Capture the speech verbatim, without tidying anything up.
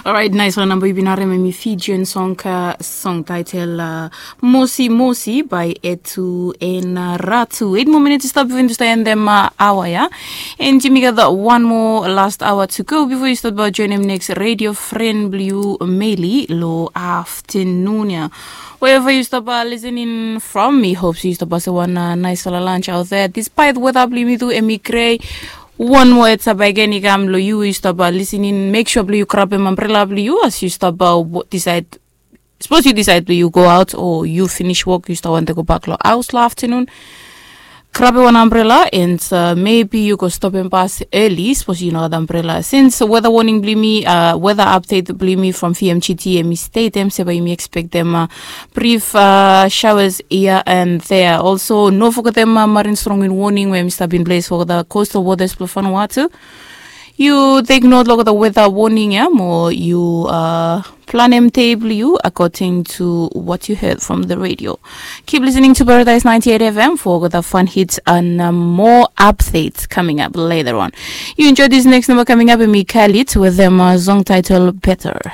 Orait, naisfala namba yu bin harim em i Fijian song, song title uh, Mosi Mosi by Etu en uh, Ratu. Eight more minutes i stap before i stap end em uh, hour ya. And yumi gat one more last hour to go before you start about join em next radio friend blue Meli lo afternoon ya. Wherever you stop uh, listening from, mi hope you stop uh, se one uh, nice fala lunch out there. Despite weather blue mi do emi gray. One more heads up again i kam lo you you stop uh, listening. Make sure blue you grab em umbrella blue you as you stop uh, decide. Suppose you decide blue you go out or you finish work you stop want to go back lo house lo afternoon. Grab one umbrella and uh, maybe you go stop and pass early. Suppose you know the umbrella. Since weather warning blimi, uh, weather update blimi from V M G T M state em seba yumi expect them uh, brief uh, showers here and there. Also, no forget them uh, marine strong in warning where Mr. Bin Blaze for the coastal waters of Vanuatu. You take note of the weather warning, yeah, more you uh, plan M table you according to what you heard from the radio. Keep listening to Paradise ninety-eight F M for the fun hits and uh, more updates coming up later on. You enjoy this next number coming up and me Khalid with them uh, song title Better.